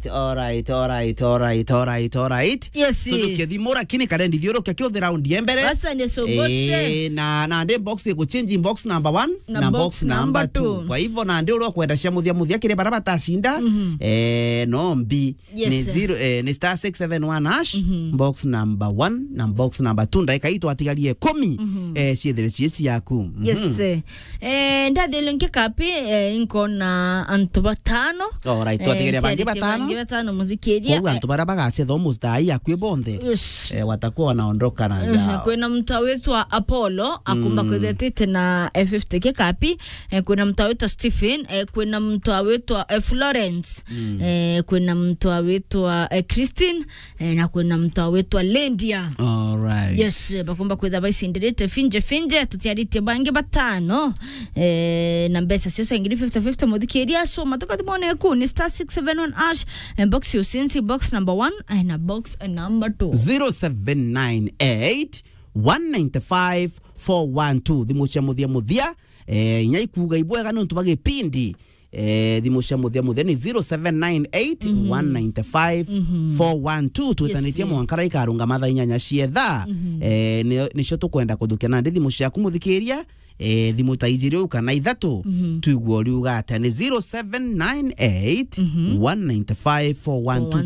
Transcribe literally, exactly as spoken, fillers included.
Alright, alright, alright, alright, alright. Yes. Tujukie thimu, lakini karendi thiurukia kiuthi round ya mbere. Basa ni sogose. Eh, na, na ndi box iguchange box number one na box number two. Kwa hivyo, na ndi uria ukwenda cia muthia muthia kiri bara batacinda, eh, no mbi. Yes, ni sir. Zero, eh, ni star six seven one hash, box number one na box number two. Ndaika ii twatigarie ikumi, eh, ciethire cie ciaku. Yes, eh. Eh, ndathire nki kapi, eh, inkona antu batano. Alright, eh, twatigaria bangi ntiaritie batano. Bangi batano, muthikiria. Koguo antu baria bagacetha umuthai akui bonthe, yes, eh, watakuwa wanaondoka na zao. Kwina muntu awitwa Apollo, akumba kwithetite na, eh, fifty kikapi. Eh, kwina muntu awitwa Stephen, eh, kwina muntu awitwa, eh, Florence. Eh, kwina muntu awitwa, eh, Christine, eh, na kwina muntu awitwa Lendia. Alright. Yes, eh, bakumba kwitha baicindirite finje finje, tutiaritie bangi batano. Eh, na mbeca cio cia ngiri fifty fifty, muthikiria, so matuka thimone ku ni star six seven one hash, eh, box ucinci, box number one, eh, na box, eh, number two. Zero seven nine eight, one nine five, four one two. Thimu cia muthia muthia, eh, inya ikuga ibwega nontu bwa gipindi. Eh, thimu cia muthia muthia ni zero seven nine eight, one nine five, four one two. Twitanitie, yes, mwankara ikarungama thaa inyanya cia thaa. Eh, ni, nicio tukwenda kuthukia nandi thimu ciaku muthikiria. Eh, thimu ta ijiri u kana ithatu, twigue uriuga atia. Ni zero seven nine eight, one nine five, four one two.